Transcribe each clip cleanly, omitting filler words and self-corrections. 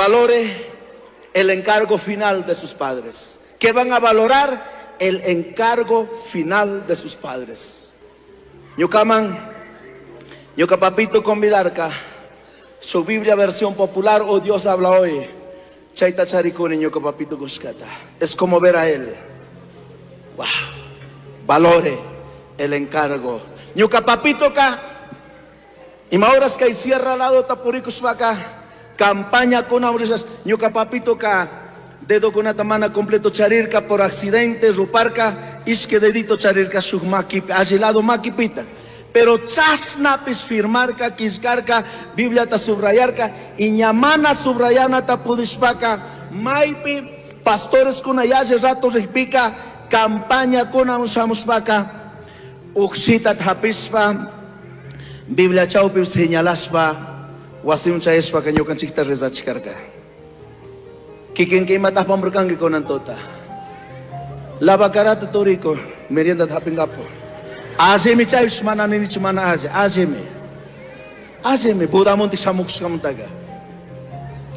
Valore el encargo final de sus padres. ¿Qué van a valorar? El encargo final de sus padres. Ñucaman, ñuca papito convidarca, su Biblia versión popular o Dios habla hoy. Chayta charikuni ñuca papito cushcata. Es como ver a él. Wow. Valore el encargo. Ñuca papito ka ima horas kay sierra lado tapurikushpaka campaña kuna ñuca papito ka dedo kunata mana completo charirka por accidente ruparka ishque dedito charirka shuk makipi alli lado makipita. Pero chashnapis firmarka killkarka Bibliata subrayarka y ña mana subrayanata pudishpaka maypi pastores kuna yalli rato rikpika campaña kuna shamushpaka ukshita hapishpa Biblia chawpi señalashpa wasiman chayashpaka ñukanchikta rezachikarka. Kikinka imata apamurkanki kunan tuta. Lavacarata turiko merienda hapingapo. Allimi chaypish mana ninichu mana alli, allimi. Allimi Budamonte shamukushkamantaka.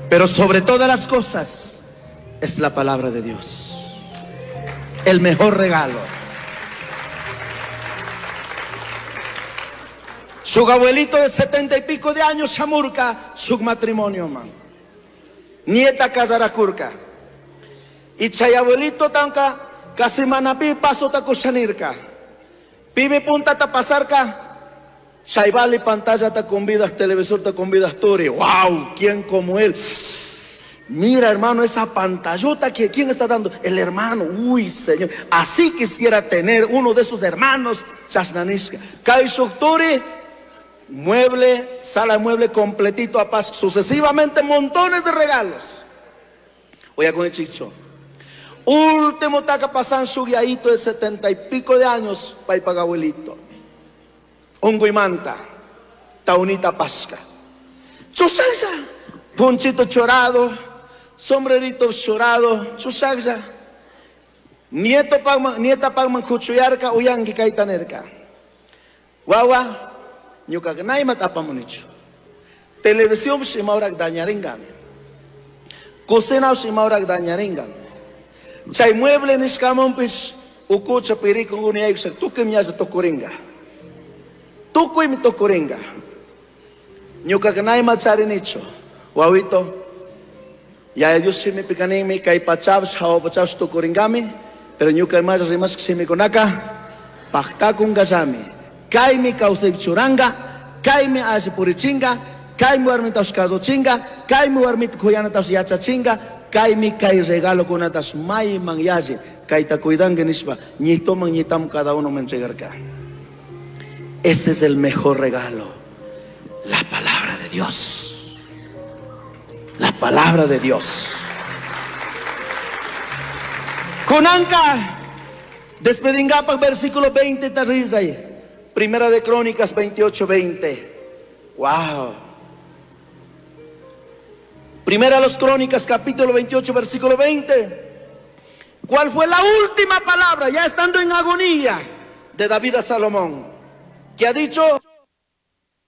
Pero sobre todas las cosas es la palabra de Dios. El mejor regalo. Su abuelito de 70 y pico de años, shamurka, su matrimonio, man. Nieta casarakurka. Y chay abuelito tanka, casi manapi paso takushanirka. Pibe punta ta pasarka, chaybali pantalla ta convidas, televisor ta convidas turi. ¡Wow! ¿Quién como él? Mira, hermano, esa pantallota que ¿quién está dando? El hermano. Uy, Señor. Así quisiera tener uno de esos hermanos. Chasnanishka. Kaishuk turi, mueble, sala de mueble completito a paz, sucesivamente montones de regalos. Oye, con el chicho. Último taka pasan su guiadito de 70 y pico de años, paypa abuelito. Unguimanta, taunita pasca. Chusaklla, ponchito chorado, sombrerito chorado, chusaklla. Nieto pagman, nieta pagman kuchuyarka, uyanki kaytanerka. Wawa, ñuka naymat apamunichu. Televisión imaurak dañaringami. Cocina imaurak dañaringami. Chay mueble nishkamunpis ukucha pirikun uniyaykushak tukuy ñalla tukuringa. Tukuymi tukuringa. Ñuka nayma charinichu. Wawito, ya Dios shimipi kanimi kay pachapish hawa pachapish tukuringami, pero ñuka imalla rimashka shimikunaka paktakunkallami. Kaymi kawsaypi churanga, kaymi alli purichinga, kaymi warmitash kasuchinga, kaymi warmita kuyanatash yachachinga, kaymi kay regalokunatash mayman yalli kayta cuidanki nishpa ñitoman ñitam cada uno me entregarka. Ese es el mejor regalo, la palabra de Dios. La palabra de Dios. Kunanka, despedingapa versículo 20 tarriza ahí. Primera de Crónicas 28, 20. Wow. Primera de los Crónicas, capítulo 28, versículo 20. ¿Cuál fue la última palabra, ya estando en agonía, de David a Salomón? Que ha dicho...